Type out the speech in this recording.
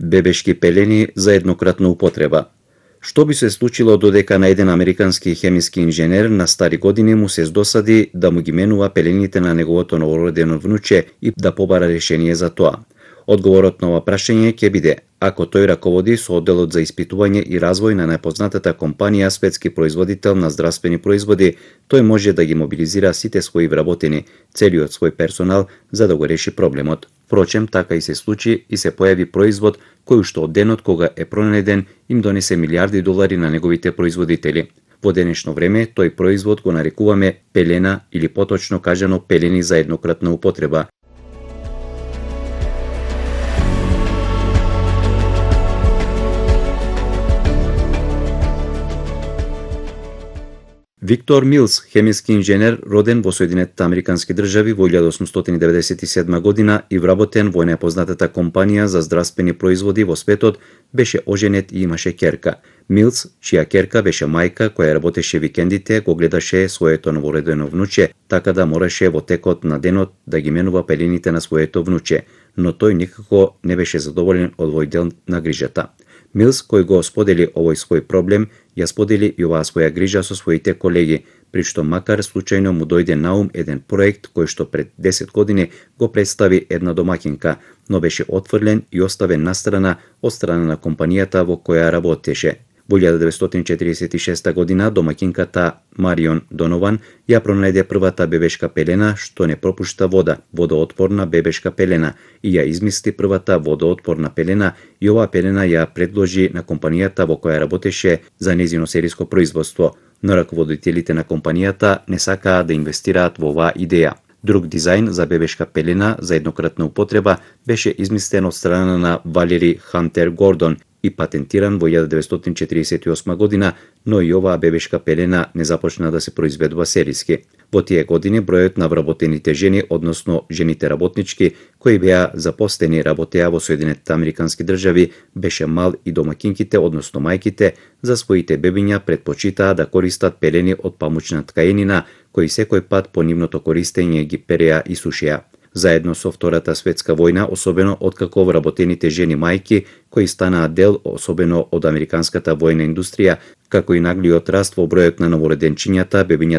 Бебешки пелени за еднократна употреба. Што би се случило додека на еден американски хемиски инженер на стари години му се здосади да му ги менува пелените на неговото новородено внуче и да побара решение за тоа? Одговорот на ова прашање ќе биде ако тој раководи со одделот за испитување и развој на најпознатата компанија светски производител на здравствени производи, тој може да ги мобилизира сите своји вработени, целиот свој персонал за да го реши проблемот. Впрочем, така и се случи и се појави производ кој уште од денот кога е пронајден им донесе милиарди долари на неговите производители. Во денешно време тој производ го нарекуваме пелена или поточно кажано пелени за еднократна употреба. Виктор Милс, хемиски инженер, роден во Соединетите Американски држави во 1897 година и вработен во најпознатата компанија за здравствени производи во светот, беше оженет и имаше ќерка. Милс, чија ќерка беше мајка која работеше викендите, го гледаше своето новородено внуче, така да мораше во текот на денот да ги менува пелените на своето внуче, но тој никако не беше задоволен од овој дел на грижата. Милс, кој го сподели овој свој проблем, ја сподели и оваа своја грижа со своите колеги, при што макар случајно му дојде на ум еден проект кој што пред 10 години го представи една домакинка, но беше отфрлен и оставен настрана од страна на компанијата во која работеше. Во 1946 година домакинката Марион Донован ја пронајде првата бебешка пелена што не пропушта вода, водоотпорна бебешка пелена, и ја измисли првата водоотпорна пелена и оваа пелена ја предложи на компанијата во која работеше за нејзино сериско производство, но раководителите на компанијата не сакаа да инвестираат во оваа идеја. Друг дизајн за бебешка пелена за еднократна употреба беше измислен од страна на Валери Хантер Гордон и патентиран во 1948 година, но и оваа бебешка пелена не започна да се произведува сериски. Во тие години бројот на вработените жени, односно жените работнички, кои беа запостени работеа во Соединетите Американски држави, беше мал и домакинките, односно мајките, за своите бебиња предпочитаа да користат пелени од памучна ткаенина, кои секој пат по нивното користење ги переа и сушеа. Заедно со Втората светска војна, особено откако вработените жени мајки, кои станаа дел особено од американската војна индустрија, како и наглиот раст во бројот на новороденчињата, бебињата